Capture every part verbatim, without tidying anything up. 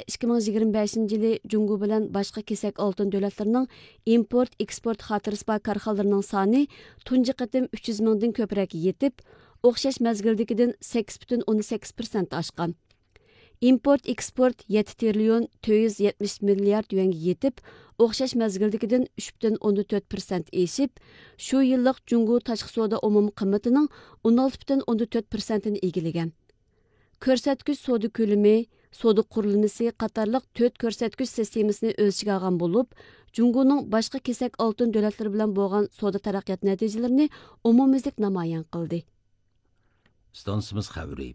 ئىككى مىڭ يىگىرمە بەشىنچى يىلى جۇڭگو بىلەن باشقا كېسەك ئالتۇن دۆلەتلىرىنىڭ ئىمپورت، ئېكسپورت خاتىرىسى بار كارخانىلىرىنىڭ سانى تۇنجى قېتىم ئۈچ يۈز مىڭدىن كۆپرەككە يېتىپ، ئوخشاش مەزگىلدىكىدىن سەككىز پۈتۈن ئوندىن سەككىز پىرسەنت ئاشقان. ئىمپورت ئېكسپورت يەتتە تىرىليون تۆت يۈز يەتمىش مىليارد يۈەنگە يېتىپ، ئوخشاش مەزگىلدىكىدىن ئۈچ پۈتۈن ئوندىن تۆت پىرسەنت ئېشىپ، شۇ يىللىق جۇڭگو تاشقى سودا ئومۇمىي قىممىتىنىڭ ئون ئالتە پۈتۈن ئوندىن تۆت پىرسەنتىنى ئىگىلىگەن. كۆرسەتكۈچ سودا كۆلىمى، سودا قۇرۇلمىسى قاتارلىق تۆت كۆرسەتكۈچ سىستېمىسىنى ئۆز ئىچىگە ئالغان بولۇپ، جۇڭگونىڭ باشقا كېسەك ئالتۇن دۆلەتلىرى بىلەن بولغان سودا تەرەققىيات نەتىجىلىرىنى ئومۇميۈزلۈك نامايان قىلدى. ئىستانسىمىز خەۋىرى.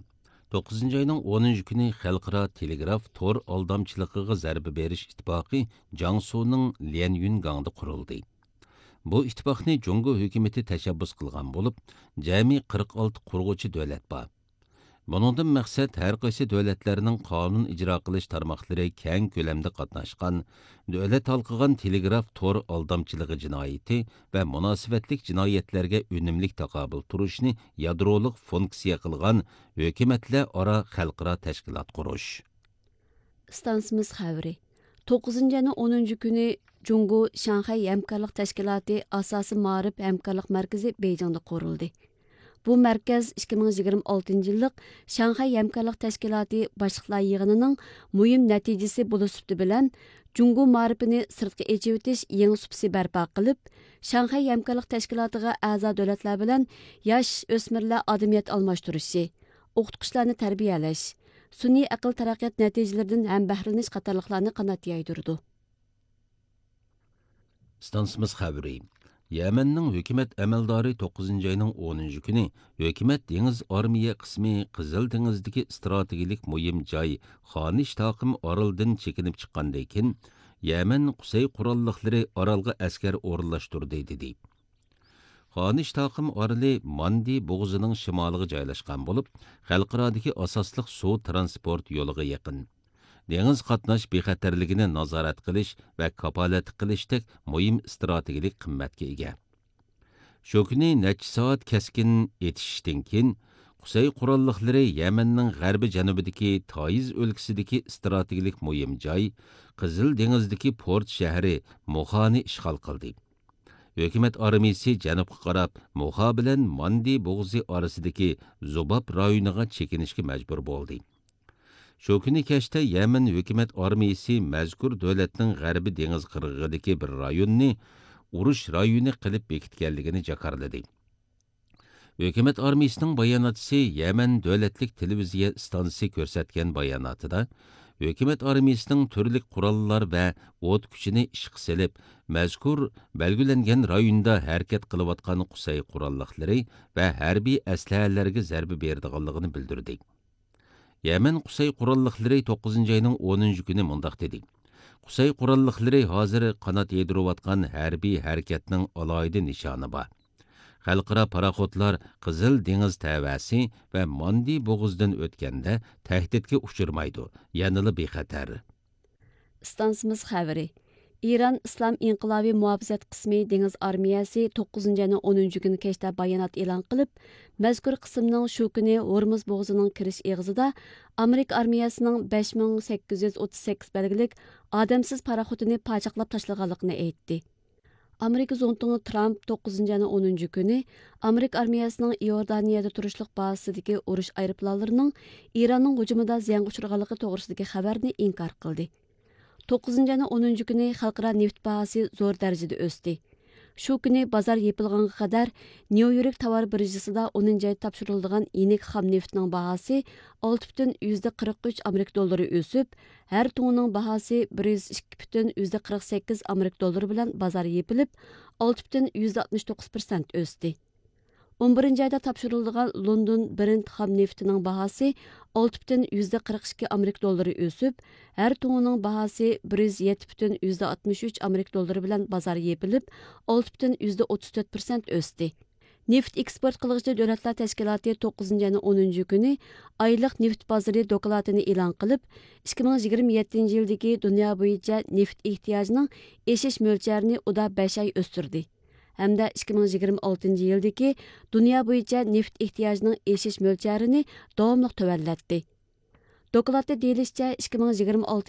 توققۇزىنچى ئاينىڭ ئونىنچى كۈنى خەلقئارا تېلېگراف تور ئالدامچىلىقىغا زەربە بېرىش ئىتتىپاقى جياڭسۇنىڭ ليەنيۈنگاڭدا قۇرۇلدى. بۇ ئىتتىپاقنى جۇڭگو ھۆكۈمىتى تەشەببۇس قىلغان بولۇپ، جەمئىي قىرىق ئالتە قۇرغۇچى دۆلەت بار. بۇنىڭدىن مەقسەت ھەر قايسى دۆلەتلەرنىڭ قانۇن ئىجرا قىلىش تارماقلىرى كەڭ كۆلەمدە قاتناشقان، دۆلەت ھالقىغان تېلېگراف تور ئالدامچىلىقى جىنايىتى ۋە مۇناسىۋەتلىك جىنايەتلەرگە ئۈنۈملۈك تاقابىل تۇرۇشنى يادرولۇق فۇنكسىيە قىلغان ھۆكۈمەتلەر ئارا خەلقئارا تەشكىلات قۇرۇش. ئىستانسىمىز خەۋىرى. توققۇزىنچى ئاينىڭ ئونىنچى كۈنى جۇڭگو شاڭخەي ھەمكارلىق تەشكىلاتى ئاساسىي مائارىپ ھەمكارلىق مەركىزى بېيجىڭدا قۇرۇلدى. بۇ مەركەز ئىككى مىڭ يىگىرمە ئالتىنچى يىللىق شاڭخەي ھەمكارلىق تەشكىلاتى باشلىقلار يىغىنىنىڭ مۇھىم نەتىجىسى بولۇش سۈپىتى بىلەن، جۇڭگو مائارىپىنى سىرتقا ئېچىۋېتىش يېڭى سۇپىسى بەرپا قىلىپ، شاڭخەي ھەمكارلىق تەشكىلاتىغا ئەزا دۆلەتلەر بىلەن ياش ئۆسمۈرلەر ئادەمىيەت ئالماشتۇرۇشى، ئوقۇتقۇچىلارنى تەربىيەلەش، سۈنئىي ئەقىل تەرەققىيات نەتىجىلىرىدىن ھەم بەھرىلىنىش قاتارلىقلارنى قانات يايدۇرىدۇ. ئىستانسىمىز خەۋىرى. يەمەننىڭ ھۆكۈمەت ئەمەلدارى توققۇزىنچى ئاينىڭ ئونىنچى كۈنى ھۆكۈمەت دېڭىز ئارمىيە قىسمى قىزىل دېڭىزدىكى ئىستراتېگىيىلىك مۇھىم جاي خانىش تاقىم ئارىلىدىن چېكىنىپ چىققاندىن كېيىن، يەمەن قۇسەي قوراللىقلىرى ئارالغا ئەسكەر ئورۇنلاشتۇردى، دېدى. خانىش تاقىم ئارىلى ماندى بوغۇزىنىڭ شىمالىغا جايلاشقان بولۇپ، خەلقئارادىكى ئاساسلىق سۇ ترانسپورت يولىغا يېقىن. دېڭىز قاتناش بىخەتەرلىكىنى نازارەت قىلىش ۋە كاپالەتلىك قىلىشتەك مۇھىم ئىستراتېگىيەلىك قىممەتكە ئىگە. شۇ كۈنى نەچچە سائەت كەسكىن ئېتىشىشتىن كېيىن، قۇسەي قوراللىقلىرى يەمەننىڭ غەربىي جەنۇبىدىكى تائىز ئۆلكىسىدىكى ئىستراتېگىيەلىك مۇھىم جاي، قىزىل دېڭىزدىكى پورت شەھىرى موخانى ئىشغال قىلدى. ھۆكۈمەت ئارمىيىسى جەنۇبقا قاراپ، موخا بىلەن ماندى بوغۇزى ئارىسىدىكى زۇباب رايونىغا چېكىنىشكە مەجبۇر بولدى. شۇ كۈنى كەچتە يەمەن ھۆكۈمەت ئارمىيىسى مەزكۇر دۆلەتنىڭ غەربىي دېڭىز قىرغىقىدىكى بىر رايوننى ئۇرۇش رايونى قىلىپ بېكىتكەنلىكىنى جاكارلىدى. ھۆكۈمەت ئارمىيىسىنىڭ باياناتچىسى يەمەن دۆلەتلىك تېلېۋىزىيە ئىستانسىسى كۆرسەتكەن باياناتىدا، ھۆكۈمەت ئارمىيىسىنىڭ تۈرلۈك قوراللار ۋە ئوت كۈچىنى ئىشقا سېلىپ، مەزكۇر بەلگىلەنگەن رايوندا ھەرىكەت قىلىۋاتقان قۇسەي قوراللىقلىرى ۋە ھەربىي ئەسلىھەلەرگە زەربە بېرىدىغانلىقىنى بىلدۈردى. يەمەن قۇسەي قوراللىقلىرى توققۇزىنچى ئاينىڭ ئونىنچى كۈنى مۇنداق دېدى: قۇسەي قوراللىقلىرى ھازىر قانات يايدۇرۇۋاتقان ھەربىي ھەرىكەتنىڭ ئالاھىدە نىشانى بار. خەلقئارا پاراخوتلار قىزىل دېڭىز تەۋەسى ۋە ماندى بوغۇزىدىن ئۆتكەندە تەھدىتكە ئۇچرىمايدۇ، يەنىلا بىخەتەر. ئىستانسىمىز خەۋىرى. ئىران ئىسلام ئىنقىلابى مۇھاپىزەت قىسمى دېڭىز ئارمىيەسى توققۇزىنچى ئاينىڭ ئونىنچى كۈنى كەچتە بايانات ئېلان قىلىپ، مەزكۇر قىسىمنىڭ شۇ كۈنى ھورمۇز بوغۇزىنىڭ كىرىش ئېغىزىدا ئامېرىكا ئارمىيەسىنىڭ بەش مىڭ سەككىز يۈز ئوتتۇز سەككىز بەلگىلىك ئادەمسىز پاراخوتىنى پاچاقلاپ تاشلىغانلىقىنى ئېيتتى. ئامېرىكا زۇڭتۇڭى ترامپ توققۇزىنچى ئاينىڭ ئونىنچى كۈنى ئامېرىكا ئارمىيەسىنىڭ ئىئوردانىيەدە تۇرۇشلۇق بازىسىدىكى ئۇرۇش ئايروپىلانلىرىنىڭ ئىراننىڭ ھۇجۇمىدا زىيانغا ئۇچرىغانلىقى توغرىسىدىكى خەۋەرنى ئىنكار قىلدى. توققۇزىنچى ئاينىڭ ئونىنچى كۈنى خەلقئارا نېفىت باھاسى زور دەرىجىدە ئۆستى. شۇ كۈنى بازار يېپىلغانغا قەدەر نيۇ يورك تاۋار بىرژىسىدا ئونىنچى ئايدا تاپشۇرۇلىدىغان يېنىك خام نېفىتنىڭ باھاسى ئالتە پۈتۈن يۈزدە قىرىق ئۈچ ئامېرىكا دوللىرى ئۆسۈپ، ھەر توننىنىڭ باھاسى بىر يۈز ئىككى پۈتۈن يۈزدە قىرىق سەككىز ئامېرىكا دوللىرى بىلەن بازار يېپىلىپ، ئالتە پۈتۈن يۈزدە ئاتمىش توققۇز پىرسەنت ئۆستى. ئون بىرىنچى ئايدا تاپشۇرۇلىدىغان لوندون برېنت خام نېفىتىنىڭ باھاسى ئالتە پۈتۈن يۈزدە قىرىق ئىككى ئامېرىكا دوللىرى ئۆسۈپ، ھەر توننىنىڭ باھاسى بىر يۈز يەتتە پۈتۈن يۈزدە ئاتمىش ئۈچ ئامېرىكا دوللىرى بىلەن بازار يېپىلىپ، ئالتە پۈتۈن يۈزدە ئوتتۇز تۆت پىرسەنت ئۆستى. نېفىت ئېكسپورت قىلغۇچى دۆلەتلەر تەشكىلاتى توققۇزىنچى ئاينىڭ ئونىنچى كۈنى ئايلىق نېفىت بازىرى دوكلاتىنى ئېلان قىلىپ، ئىككى مىڭ يىگىرمە يەتتىنچى يىلدىكى دۇنيا بويىچە نېفىت ئېھتىياجىنىڭ ئېشىش مۆلچەرىنى ئۇدا بەش ئاي ئۆستۈردى ھەمدە ئىككى مىڭ يىگىرمە ئالتىنچى يىلدىكى دۇنيا بويىچە نېفىت ئېھتىياجىنىڭ ئېشىش مۆلچەرىنى داۋاملىق تۆۋەنلەتتى. دوكلاتتا دېيىلىشىچە، ئىككى مىڭ يىگىرمە ئالتىنچى